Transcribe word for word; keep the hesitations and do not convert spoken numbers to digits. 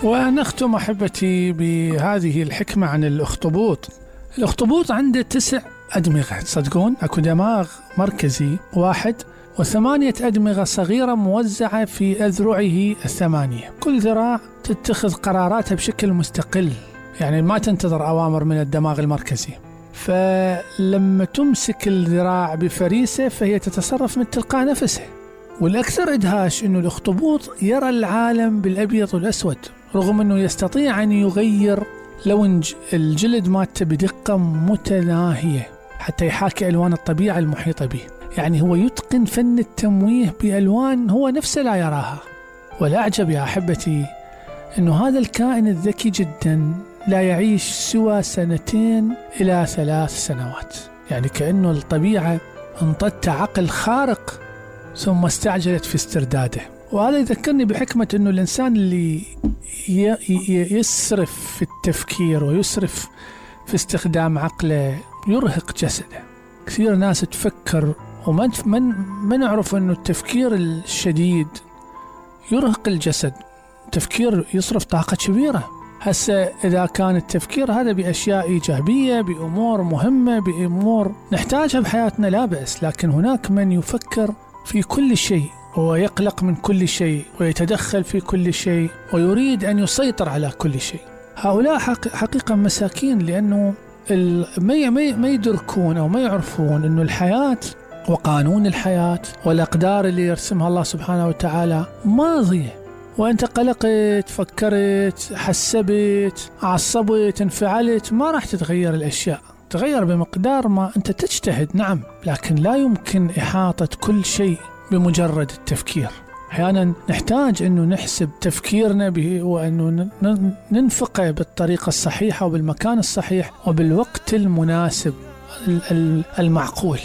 ونختم أحبتي بهذه الحكمة عن الأخطبوط. الأخطبوط عنده تسع أدمغة، تصدقون؟ أكو دماغ مركزي واحد وثمانية أدمغة صغيرة موزعة في أذرعه الثمانية، كل ذراع تتخذ قراراتها بشكل مستقل، يعني ما تنتظر أوامر من الدماغ المركزي. فلما تمسك الذراع بفريسة فهي تتصرف من تلقاء نفسها. والأكثر إدهاش أنه الأخطبوط يرى العالم بالأبيض والأسود، رغم أنه يستطيع أن يغير لون الجلد مالته بدقة متناهية حتى يحاكي ألوان الطبيعة المحيطة به. يعني هو يتقن فن التمويه بألوان هو نفسه لا يراها. والأعجب يا أحبتي أنه هذا الكائن الذكي جدا لا يعيش سوى سنتين إلى ثلاث سنوات، يعني كأنه الطبيعة انطت عقل خارق ثم استعجلت في استرداده. وهذا يذكرني بحكمة أنه الإنسان اللي يسرف في التفكير ويسرف في استخدام عقله يرهق جسده. كثير ناس تفكر وما من ما نعرف أنه التفكير الشديد يرهق الجسد، تفكير يصرف طاقة كبيرة. هسه إذا كان التفكير هذا بأشياء إيجابية، بأمور مهمة، بأمور نحتاجها بحياتنا لا بأس، لكن هناك من يفكر في كل شيء ويقلق من كل شيء ويتدخل في كل شيء ويريد أن يسيطر على كل شيء. هؤلاء حقيقة مساكين، لأنه ما يدركون أو ما يعرفون أنه الحياة وقانون الحياة والأقدار اللي يرسمها الله سبحانه وتعالى ماضية، وأنت قلقت، فكرت، حسبت، عصبت، انفعلت، ما راح تتغير الأشياء. تغير بمقدار ما أنت تجتهد، نعم، لكن لا يمكن إحاطة كل شيء بمجرد التفكير. أحيانا نحتاج أنه نحسب تفكيرنا به وأنه ننفقه بالطريقة الصحيحة وبالمكان الصحيح وبالوقت المناسب المعقول.